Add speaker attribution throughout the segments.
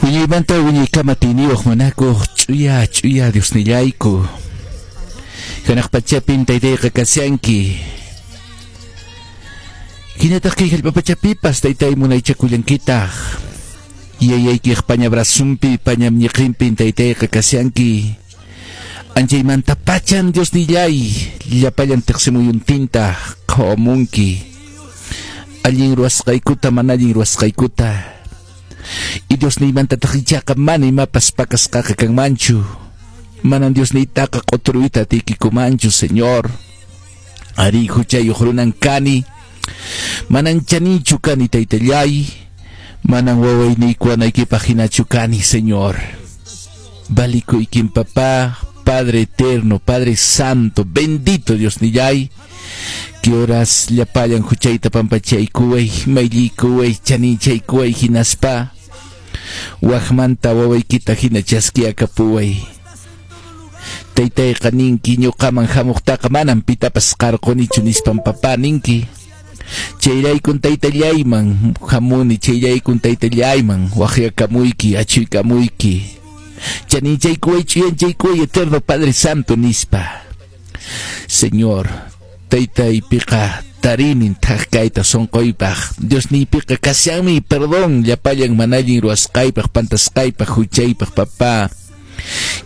Speaker 1: Wiñaymanta wiñaykama atiyniyuq munakuq ch'uya ch'uya Diosnillayku. Hanaq pachapin taytayqa kashanki. Hinataq kay hallp'a pachapipas taytay munaychakullankitaq. Yayaykiq paña brazonpi paña ñiqinpin taytayqa kashanki. Anchaymanta pachan Diosnillay llapallan tiqsimuyuntinta qhawamunki. Allin ruwasqaykuta mana allin ruwasqaykuta. Y Diosniymantataq ichaqa mana imapas pakasqaqa kanmanchu. Manan Diosniytaqa q'uturuyta atiykikumanchu, Señor. Ari huchayuq runan kani. Manan chaninchu kani, taytallay. Manan wawayniykuwanaykipaq hinachu kani, Señor. Valikuykin, papá, Padre eterno, Padre santo, bendito Diosnillay. Que horas llapallan huchayta pampachaykuway, mayllaykuway, chaninchaykuway hinaspa. Waqmanta wawaykita hina chaskiyakapuway. Taytayqa ninki ñuqaman hamuqtaqa manam pitapas qarqunichu nispan papá ninki. Chayraykun taytallayman hamuni, chayraykun taytallayman waqyakamuyki, achuykamuyki. Chaninchaykuway, ch'uyanchaykuway, eterno Padre Santo nispa. Señor, taytaypiqa tarinin thak kayta sunquypaq. Diosniypiqa kashanmi perdón llapallan mana allin ruwasqaypaq, pantasqaypaq, huchaypaq, papá.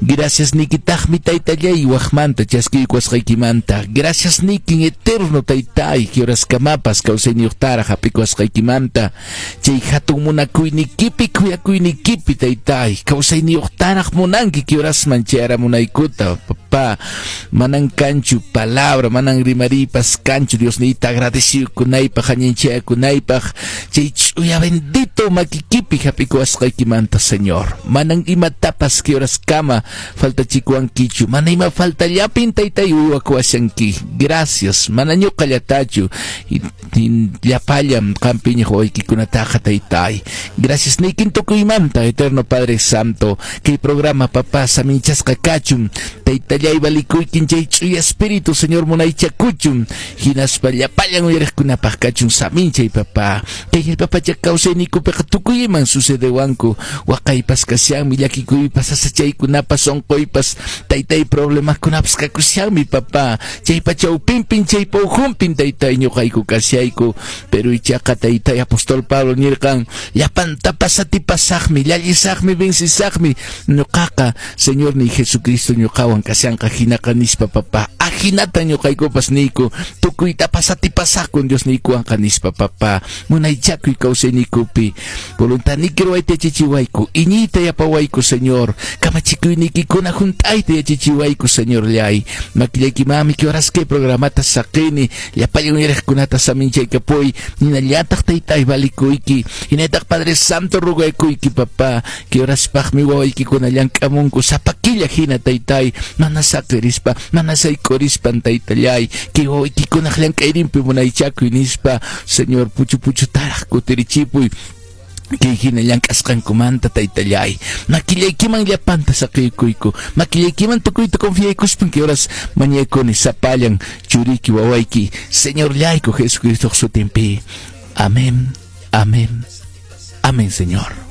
Speaker 1: Gracias nikitaqmi taytallay waqmanta chaskiykuwasqaykimanta. Gracias nikin eterno taytay que horaskamapas kawsayniyuqtaraq hap'ikuwasqaykimanta. Chay hatun munakuynikipi khuyakuynikipi taytay kawsayniyuqtaraq munanki que horasman chayaramunaykuta, papá. Manan kanchu palabra, manan rimariypas kanchu Diosniyta agradecikunaypaq, añanchakunaypaq chay ch'uya bendito makikipi hap'ikuwasqaykimanta, Señor. Manan imatapas que horaskama faltachikuwankichu, mana ima faltallapin taytay uywakuwashanki. Gracias, mana ñuqallatachu llapallan qampiñaq wawaykikunataqa taytay. Gracias niykin tukuymanta, eterno Padre Santo. Kay programa, papá, saminchasqa kachun. Taytallay valikuykin chay ch'uya espíritu, Señor, munaychakuchun. Hinaspa llapallan uyariqkunapaq kachun saminchay, papá. Kay hallp'a kawsayniykupiqa tukuy iman sucedewanku. Waqaypas kashanmi, llakikuypas, sasachaykunapas, sunquypas, taytay problemakunapas kakushanmi, papá. Chaypa chawpinpin, chaypa ukhunpin taytay ñuqayku kashayku. Pero ichaqa taytay apóstol Pablo nirqan, llapantapas atipasaqmi, llallisaqmi, vencisaqmi. Ñuqaqa, Señor ni Jesucristo ñuqawan kashanqa hinaqa nispa, papá. Ajinata ñuqaykupas niyku, tukuytapas atipasaqkun Dios niykuwanqa nispa, papá. Munaychakuy kawsayniykupi. Voluntadniyki ruwayta yachachiwayku, iñiyta yapawayku, Señor. Kamachikuyniykikuna hunt'ayta yachachiwayku, Señorllay. Makillaykimanmi que horas kay programata saqini, llapallan uyariqkunata saminchaykapuy, hinallataq taytay valikuyki, hinallataq Padre Santo rugaykuyki, papá, que horaspaqmi wawaykikuna llank'amunku sapa killa hina taytay, mana saqirispa, mana sayk'urispan taytallay, kay wawaykikunaq llank'ayninpi munaychakuy nispa, Señor, puchu puchutaraq kutirichipuy. Kay hina llank'asqankumanta taytallay, makillaykiman llapanta saqiykuyku, makillaykiman tukuyta confiaykuspan que horas mañakuni sapallan churiki wawayki, Señorllayku Jesucristo sutinpi. Amén, amén, amén, Señor.